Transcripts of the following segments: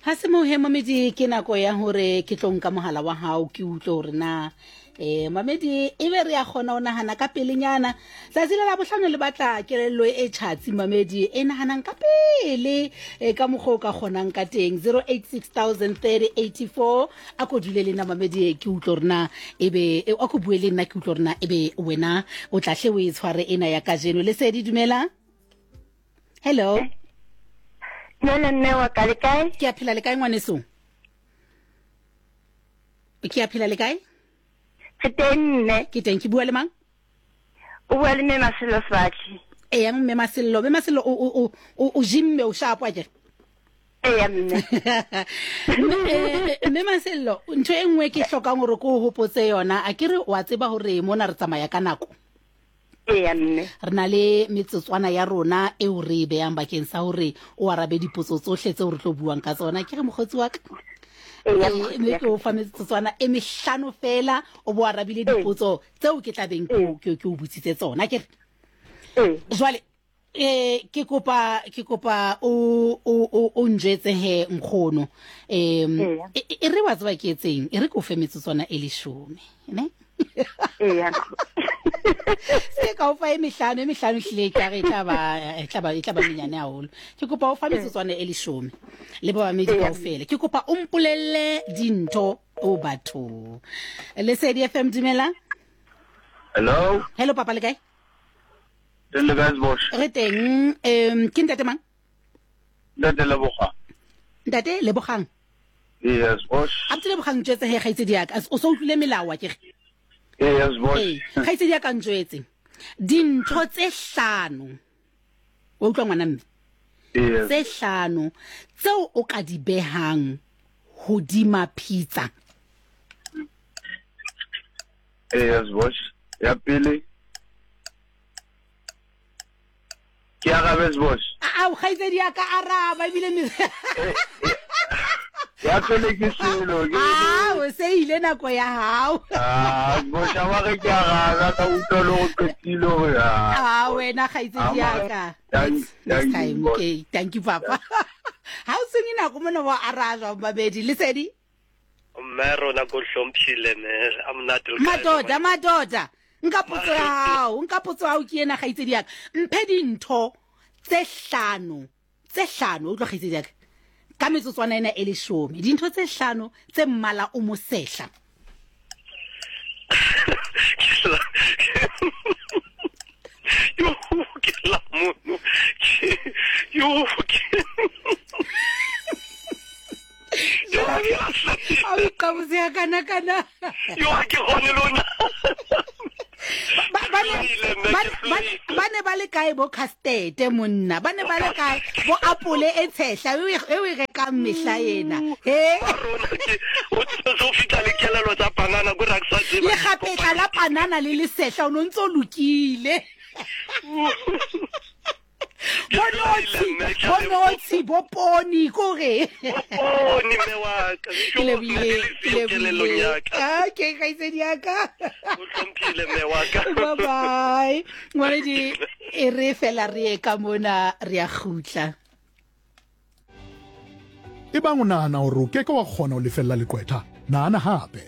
Ga se mohe mamedi, ke nako ya gore ke tlo nka mogala wa gago ke utlwe gore na um mamedi e be re ya kgona go nagana ka pelenyana. Tsatsi le la bohlano le batla kelello e tšhatsi mamedi e naganang ka pele e ka mokgwa o ka kgonang ka teng. 08603084 a ko dule le nna mamedi ke utlwe gore na e be a ko bue le nna ke utlwe gore na e be wena o tla hle o e tshware ena ya kajeno. Lesedi, dumela. Hello. Nna mme wa ka le kae? Ke a phela le kae ngwaneso? Ke a phela le kae? Ke teng mme. Ke teng, ke bua le mang? O bua le mme Masello Sebatli. Eya mme Masello, mme Masello o o o o jimme o shapo akere? Eya mme. Mme Masello, ntho e nngwe ke hlokang hore ke o hopotse yona, a ke re wa tseba hore mona re tsamaya ka nako. Eya mme. Re na le metsotswana ya rona eo re e beyang bakeng sa hore o arabe dipotso tsohle tseo re tlo buang ka tsona. Ke re mokgotsi wa ka. Eya, Eh, mokgotsi mme wa ke o fa metsotswana e mehlano fela o bo arabile dipotso tseo ke tla beng ke o- ke ke o botsitse tsona. Ke re Ee. jwale eh ke kopa ke kopa o o o o njwetse he nkgono em Eya. e e re wa tseba ke etseng e re ke o fe metsotswana e leshome ne Eya. Se ka o fa e mehlano e mehlano hlile e kare e tla ba e tla ba e tla ba menyane haholo ke kopa o fa metsotswana e leshome le ba bamedi Eya. kaofela ke kopa o mpolelle dintho o batho Lesedi FM dumela. Hello. Hello papa le kae? Teng le kae Sbosh? Re teng um ke ntate mang? Ntate Lebogang. Ntate Lebogang. Yes, Bosh. A botse Lebogang njwetse he kgaitsedi ya ka. O so utlwile melao a ke re? Yes, Bosh. Ee, kgaitsedi ya ka njwetse. Dintho tse hlano. Wa utlwa ngwana mme? Yes. Tse hlano tseo o ka di behang hodima pizza. Yes, Bosh. Ya pele ke arabe Sbosh. Ao kgaitsedi ya ka araba ebile me Ya pele ke selo ke Ao se ile nako ya hao. Ah, Sbosh a ba re ke arabe ka utlwa le go qetile gore ah. Ah wena kgaitsedi ya ka. Thank Next you, time. Bosh. Okay, thank you papa. Ha o senye nako mona wa arajwa babedi lesedi. Mme rona ko hlomphile me a monate le kae? Madoda, madoda. Nka potso ya hao, nka potso ya hao ke ena kgaitsedi ya ka. Mphe dintho tse hlano, tse hlano, utlwa kgaitsedi ya ka. Ka metsotswana ena e leshome, dintho tse hlano tse mmala o mosehla. Yo ke la mono. Yo ke A o iqabotse ya kana kana. Yo ha ke kgone lona. Ba ba ne ba le kae bo custard monna? Ba ne ba le kae bo apole e tshehla e o e rekang mehla ena? He? Rona ke o tso fitla le kelelo tsa panana go ra ke sa tseba. Le kgapetla la panana le lesehla o no ntso lokile. Bo notshi, bo notshi, bo poni kore. Poni mme wa ka. Ke lebohile, ke lebohile. Okay, kgaitsedi ya ka. O hlomphile mme wa ka. Bye bye. Ngwanedi e re fela re ye ka mona re a kgutla. Ebang o nahana hore o ke ke wa kgona ho lefella leqwetha, nahana hape.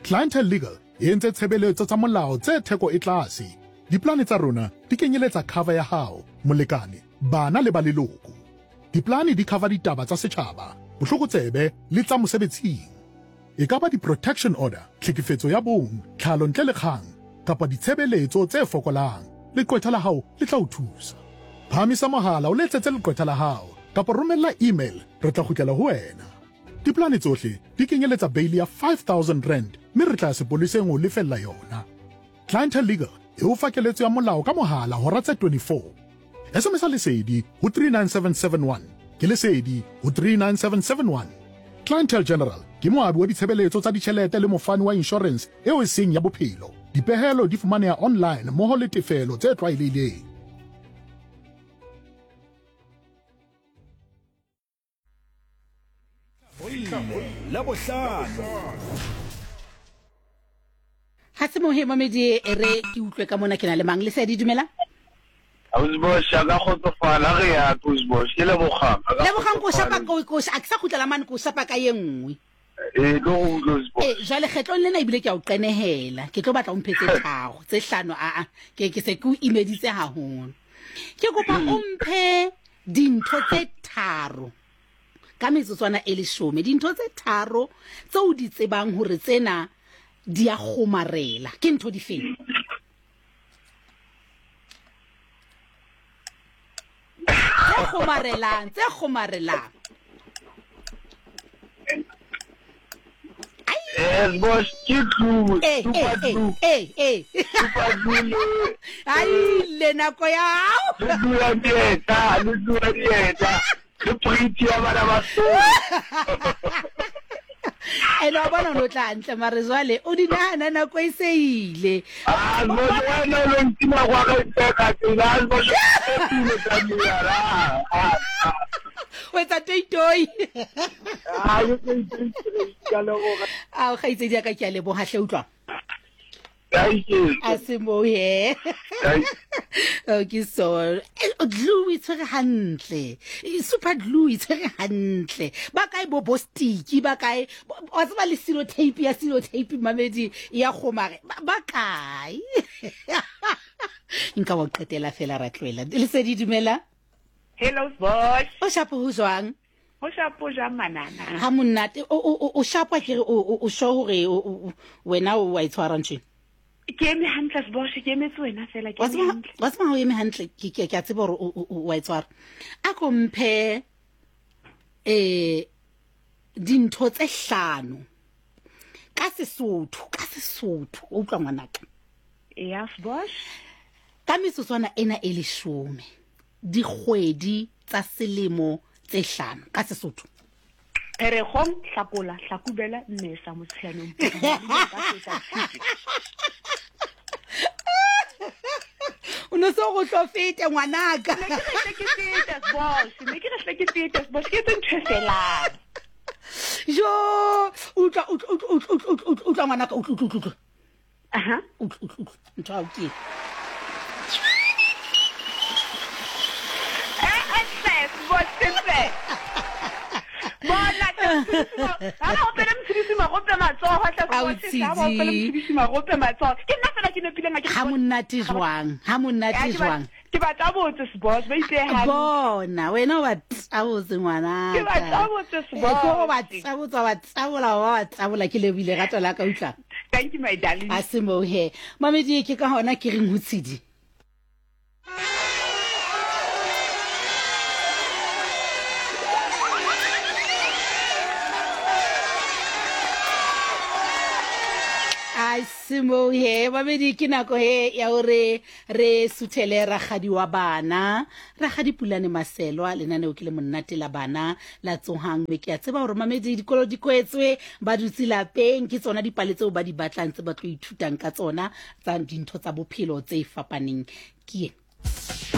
Clientele Legal e entse tshebeletso tsa molao tse theko e tlase. Diplane tsa rona di kenyeletsa cover ya hao, molekane, bana le ba leloko. Diplane di cover ditaba tsa setjhaba, bohlokotsebe le tsa mosebetsing. E ka ba di-protection order, tlhekefetso ya bong, tlhalo ntle le kgang, kapa ditshebeletso tse fokolang, leqwetha la hao le tla o thusa. Phahamisa mohala o letsetse leqwetha la hao kapa romella email re tla kgutlela ho wena. Dipolane tsohle di kenyeletsa beili ya R5000 mme re tla ya sepoleseng ho o lefella yona. Clientele Legal e o fa keletso ya molao ka mohala hora tse 24. SMS-a Lesedi ho 39771. Ke Lesedi ho 39771. Clientele General ke moabi wa ditshebeletso tsa ditjhelete le mofani wa inshorense eo e seng ya bophelo. Dipehelo di fumaneha online mmoho le tefelo tse tlwaelehileng. Ga se mohe mamedi e re ke utlwe ka mona ke na le mang lesedi dumela. Ausi Bosh, a ka kgotsofala re ya ke Ausi Bosh. Ke Lebogang. A ka Lebogang ko shapa kgotsofala. ko ko a ke sa kgutlela mane ko shapa ka ye nngwe. Ee, tlo go utlwa Ausi Bosh. Ee, jwale kgetlong lena ebile ke a o qenehela. Ke tlo batla o mphe tse tharo, tse hlano aa. Ke ke se ke o imeditse haholo. Ke kopa o mphe dintho tse tharo ka metsotswana e leshome. Dintho tse tharo tse o di tsebang hore tsena di a kgomarela. Ke ntho difeng? Tse kgomarelang, tse kgomarelang. Eh, boss, ke glue, Eh, super eh, eh, glue. eh, eh. Super glue le Ai, le nako ya hao. le glue ya dieta, le glue ya dieta, le pretty ya bana ba sekolo. Ene wa bona o ne o tla hantle mare jwale o di nahana nako e se ile. Ah, boss, wena o lo ntima kwa ka ipeka tsela, ah, boss, o pile tsa mea, ah, ah, ah. O etsa toitoi. Ah, ke toitoi, ke a leboga. Ao, kgaitsedi ya ka, ke a leboga hle, utlwa. Thank you. A se moo he. Thank Okay, so glue e tshwere hantle. Super glue e tshwere hantle. Ba kae bo bostiki, ba kae wa tseba le silo tape ya silo tape mamedi ya kgomare. Ba kae? Nka wa qetela fela ra tlohela. Lesedi dumela. Hello boss. O shapo ho jwang? Ho shapo jwang manana? Ha monate. O shapwa ke re o sure hore wena o wa itshwara ntho? Ke eme hantle Sbosh, ke emetse wena fela, ke Wa eme tseba hantle. wa tseba ha o eme hantle, ke a tseba hore o wa itshwara. A ko mphe dintho tse hlano ka Sesotho, ka Sesotho, o utlwa ngwanaka. Ya Sbosh. Ka metsotswana ena e leshome, dikgwedi tsa selemo tse hlano ka Sesotho. Pherekgong, Hlakola, Hlakubela, Mmesa, Motsheanong, Phupjane, Bafeta, Tshitwe. O no se go tlo fete ngwanaka. Ne ke re hle ke fete Sbosh, ne ke re hle ke fete Sbosh, ke etse ntho e felang. Jo, utlwa, utlwa, utlwa, utlwa, utlwa, utlwa, utlwa ngwanaka, utlwa, utlwa, utlwa. Aha. Utlwa, utlwa, utlwa. Ntho ya hao ke e. Eh, eh, hle, Sbosh, hle. Bona, hle, Motshedisi, ha ba opele Motshedisi marope matsoho, hle, Ao, Sbosh, ha ba opele Tshidi. Motshedisi marope matsoho. Ke nna fela ke nepileng, ha ke Ha monate jwang, ha monate Ya, ke ba- jwang. Ke ba tabotse Sbosh, ba itse hantle. Bona, wena o ba tabotse ngwanaka. Ke ba tabotse, Sbosh. Eh, ke o ba tabotse, wa ba tabola, wa ba tabola, ke lebohile rato la ka, utlwa. Thank you, my darling. A se moo he. Mamedi, ke ka hona ke reng ho Tshidi. A se moo he. Mamedi, ke nako he ya hore re suthele rakgadi wa bana, Rakgadi Pulane Maselwa. Lenaneo ke le monate la bana la Tsohang. Mme ke a tseba hore mamedi dikolo di kwetswe, ba dutse lapeng, ke tsona dipale tseo ba di batlang, tse ba tlo ithutang ka tsona tsa dintho tsa bophelo tse fapaneng. Ke ena.